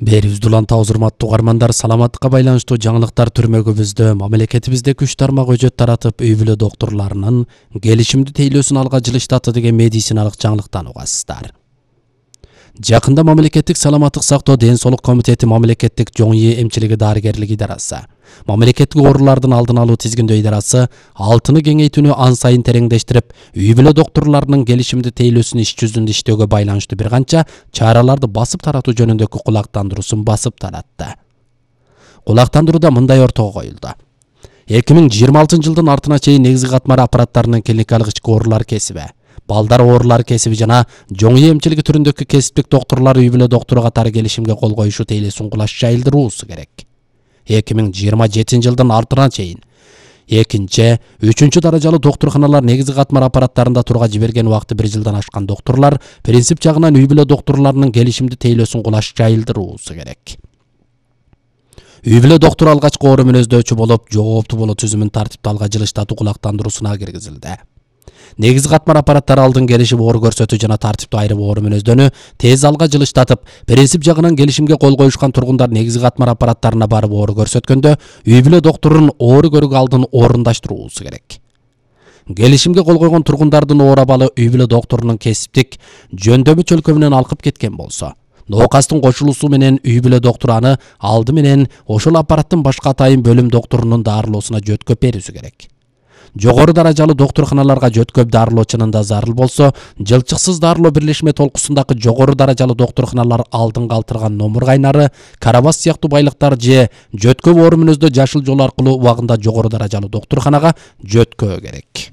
Берибизди улантабыз, урматтуу угармандар. Саламаттыкка байланыштуу жаңылыктар түрмөгүбүздө мамлекетибизде күч тармак өжөт таратып, үй бүлө доктурларынын келишимди тейлөөсүн алга жылыштатты деген медициналык жаңылыктан угасыздар. Жакында мамлекеттик саламаттык сактоо ден соолук комитети мамлекеттик жоң эмчилиги дарыгерлик идарасы, мамлекеттик оорулардын алдын алуу тизгиндөө идарасы алтыны кеңейтүүнү ан сайын тереңдештирип, үй бүлө доктурларынын келишимди тейлөөсүн иш жүзүндө иштөөгө байланыштуу бир канча чараларды басып таратуу жөнүндөгү кулактандыруусун басып таратты. Кулактандырууда мындай ортого коюлду. 2026 жылдын артына чейин негизги катмар аппараттарынын клиникалык ички оорулар кесиби, балдар оорулары кесиби жана жоң эмчилиги түрүндөгү кесиптик доктурлар үй бүлө доктуру катары келишимге кол коюшу тейлөөсүн кулаш жайылдыруусу керек. 2027 жылдын артына чейин экинчи, үчүнчү даражалуу доктурканалар негизги катмар аппараттарында турга жиберген убакыты 1 жылдан ашкан доктурлар принцип жагынан үй бүлө доктурларынын келишимди тейлөөсүн кулаш жайылдыруусу керек. Үй бүлө доктуру алгачкы оору мүнөздөчү болуп, жооптуу болуу түзүмүн тартипти алга жылыштатуу кулактандыруусуна киргизилди. Негизги катмар аппараттары алдын келишип оор көрсөтүү жана тартиптүү айырып оору мүнөздөнү тез алга жылыштатып, принцип жагынан келишимге кол коюшкан тургундар негизги катмар аппараттарына барып оору көрсөткөндө үй бүлө доктурунун оору көрүүгө алдын орундаштыруусу керек. Келишимге кол койгон тургундардын оор абалы үй бүлө доктурунун кесиптик жөндөмү чөлкөмүнөн алкып кеткен болсо, ноокастын кошулуусу менен үй бүлө доктуру аны алды менен ошол аппараттын башка атайын бөлүм доктурунун дарылоосуна жөткөп берүүсү керек. Жогору даражалуу доктурканаларга жөткөп дарылоо чынында зарыл болсо, жылчыксыз дарылоо бирлешме толкусундагы жогору даражалуу доктурканалар алдын калтырган номур кайнары, карабас сыяктуу байлыктар же жөткөп оору мүнөздө жашыл жол аркылуу убагында жогору даражалуу доктурканага жөткөө керек.